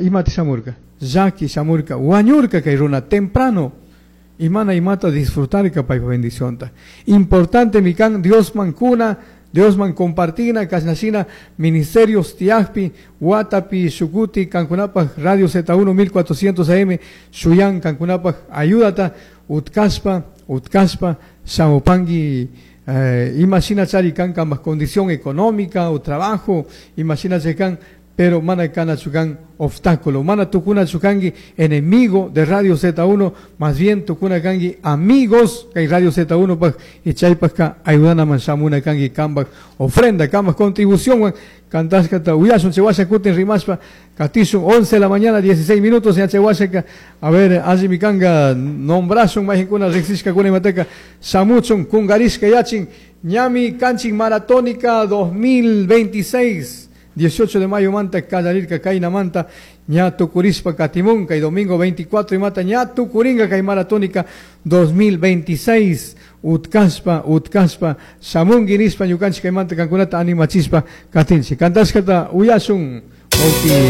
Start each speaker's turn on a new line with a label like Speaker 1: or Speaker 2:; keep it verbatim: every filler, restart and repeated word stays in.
Speaker 1: Imata shamurka? Llaki shamurka, wañurka kay runa temprano. Y mana imata disfrutarka paypa bendicionta. Importante kan Diosman kuna, Diosman compartina, kashnashina ministerios tiyakpi, watapi, shukuti, kankunapaj Radio Z uno mil cuatrocientos A M, shuyan kankunapaj ayudata, utkashpa, utkashpa, shamupangi, eh, imashina chari kan kambaj condición económica o trabajo, imashina kan, pero mana kanachu kan obstáculo, mana tucunachu kanki enemigo de Radio Z uno, más bien tucuna kanki amigos kay Radio Z uno paj y chaypajka ayudanaman shamuna kanki kambaj ofrenda, kambaj contribución. Cantashkata uyashun, chay washa kutin rimashpa katishun. once de la mañana dieciséis minutos ya. Chay washaka, a ver, allimi kanka nombrashun mayqinkuna riqsishkakuna imataka shamuchun kungarishka yachin. Ñami kanchik maratónica dos mil veintiséis, dieciocho de mayo manta kallarirka, kaynamanta ña tukurishpa katimun kay domingo veinticuatro imata ña tukuringa kay maratónica dos mil veintiséis. Utkashpa, utkashpa shamunki nishpa ñukanchik kaymanta kankunata animachishpa katinchik. Kantashkata uyashun, wawki.